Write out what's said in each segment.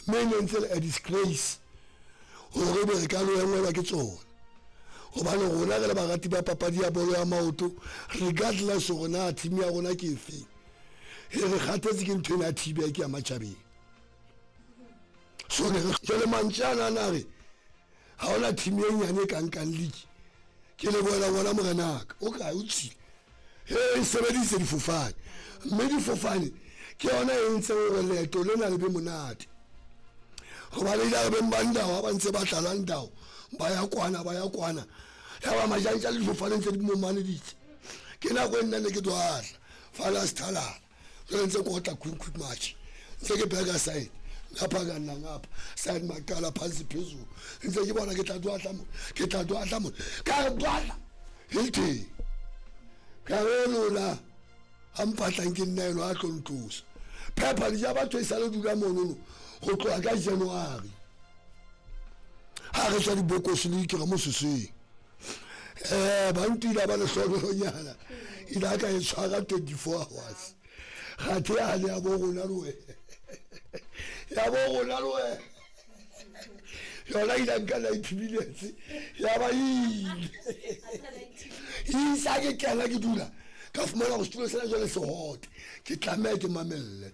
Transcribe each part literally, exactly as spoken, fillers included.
Mme e ne ntse le a disgrace hore ebe re ka lo engwelwa ke tsona, hobane rona re le barati ba papadi ya bolo ya maoto, regardless hore na team ya rona ke efeng, e re kgathetse ke ntho ena ya T-back ya matjhabeng. So ne re jwale mantswe ana a re ha hona team e nyane e ka nkang league. Ke lebohela ngwana morenaka o kae o tswile, e sebedise difofane, mme difofane ke yona e entseng hore leeto lena le be monate. Hobane ile re beng ba ndao ha ba ntse ba tlala ndao, ba ya kwana ba ya kwana, ya ba majantja le difofane ntse di momaneditse. Ke nako e nna ne ke dwahla fala sethalala, jwale ntse ke otla quick quick match, ntse ke bheka side ngapha ka nna ngapha side maqala phansi phezulu, ntse ke bona ke tla dwahla mo, ke tla dwahla mo, ka re dwahla Hilton ka re lona a mpatlang ke nna eno a tlo ntlosa. Phepha di ja batho e sa le dula monono ho tloha ka January, ha re tswa dibokosi le dikira mo seseng. Eh ba ntila ba lehlonolonyana ile ka e tshwara twenty-four hours. Kgathe yane ya bo rona le wena, ya bo rona le wena yona ile nka ninety minutes ya ba ile isa ke kena ke dula ka fumana go setulo sena jwale se hot, ke tlameha ke mamelle.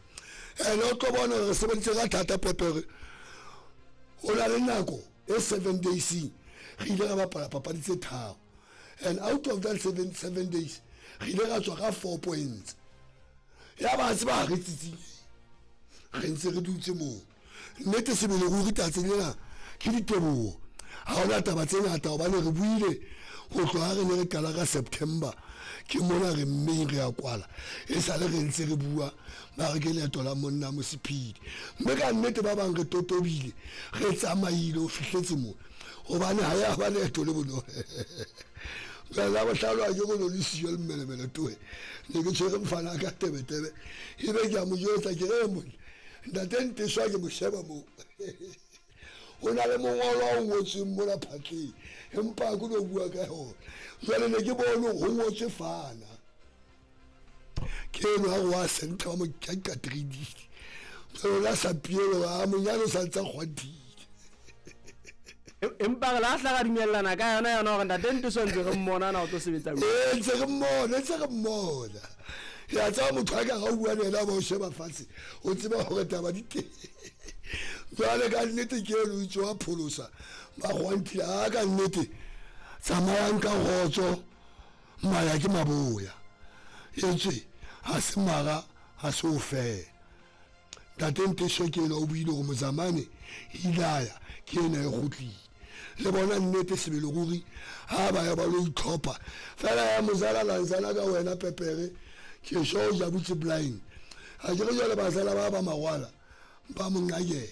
Ene o tlo bona re sebeditse ka thata pepere, o na le nako e seven days re ile ra bapala papadi tse tharo, and out of that seven, seven days re ile ra tswa ka four points. Ya ba tseba re tsitsing re ntse re dutse moo. Nnete sebele ruri tsatsing lena ke diteboho, ha hona taba tse ngata hobane re buile ho tloha re ne re qala ka September, ke mona re mmeng re a kwala, e sale re ntse re bua ba re ke leeto la monna Mosipidi. Mme ka nnete ba bang re totobile, re tsamaile ho fihletse moo, hobane ha ya ba leeto le bonolo. Jwale la bohlano ha ke go le siyo le mmelemele toe, ne ke tshwere mfana ka tebetebe, ebe ke a mo jwetsa ke re monna ntate Nteswa ke mo sheba moo, ho na le mongolo o ngotsweng mona phatleng, empa ke no bua ka yona. Jwale ne ke bone ho ngotswe fana, ke eno ha re wa senta wa mo ka three D, jwale la sa pielo a monyane o sa ntsa kgwathile. Empa re la hla ra dumellana ka yona yona hore ntate Nteswa ntse re mmona na o tlo sebetsa jwang. Eh, ntse re mmona, ntse re mmona. Ya tseba motho a ka ga o bua le yena ba o sheba fatshe, o tseba hore taba di teng. Jwale ka nnete ke eno o itse wa pholosa ba kgwanthile, a ka nnete tsamayang ka kgotso, maya ke maboya, etswe ha se mara ha se o fela. Ntate Nteswa ke ena o buile hore Mozamane ilaya ke ena e kgutlile. Le bona nnete sebele ruri ha ba ya ba lo itlhopha fela ya mozala lanzana ka wena pepere ke sho o jabutse blind. Ha ke re jwale bazala ba ba mawala ba mo nqakela,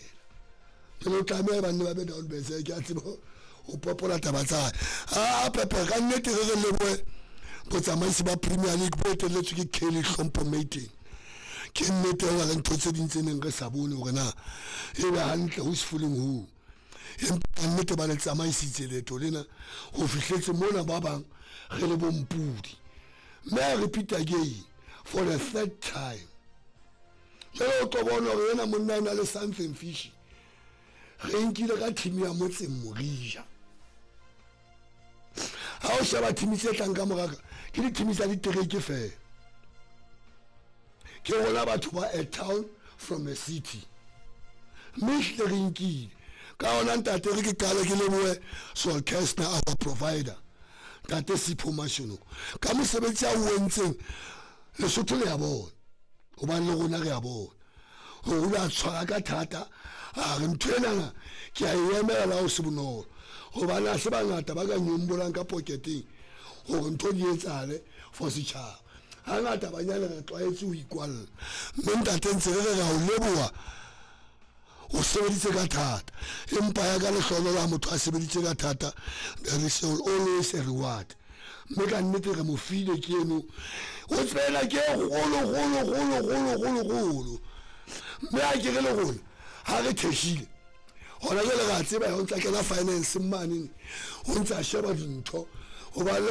ke lo tlameha ba nne ba be down bese, ke a tseba ho popola taba tsa hae. A pepere ka nnete re re lebohe botsamaisi ba Premier League bo etelletswe ke Kelly Hlompho Mating. Ke nnete ho na le ntho tse ding tse neng re sa bone hore na e be hantle who's fooling who, empa nnete ba le tsamaisitse leeto lena ho fihletse mona ba bang re le bompudi. Mme I repeat again for the third time, jwale o tlo bona hore ena monna e na le something fishy. Re nkile ka team ya motseng Morija. Ha o sheba team tse tlang ka moraka ke di-team tsa ditereke fela, ke rona batho ba a town from a city. Mme ehlile re nkile ka ona ntate, re ke qale ke lebohe Sol Kestner our provider, ntate Sipho Mashonoko ka mosebetsi a o entseng. Lesotho le ya bona hobane le rona re ya bona hore o a tshwara ka thata, a re ntho enana ke a e emela la ho se bonolo, hobane ha se bangata ba ka nyombolang ka poketeng hore ntho di etsahale for setjhaba. Hangata banyane re tlwaetse ho ikwalla, mme ntate ntse re re ra o leboha o sebeditse ka thata, empa ya ka lehlohonolo ha motho a sebeditse ka thata there is always a reward. Mme ka nnete re mo file ke eno, o tsebela ke e kgolo kgolo kgolo kgolo kgolo kgolo. Mme ha ke re le rona ha re theshile hona jwale re a tseba o ntsa kena finance mane, o ntsa sheba dintho hobane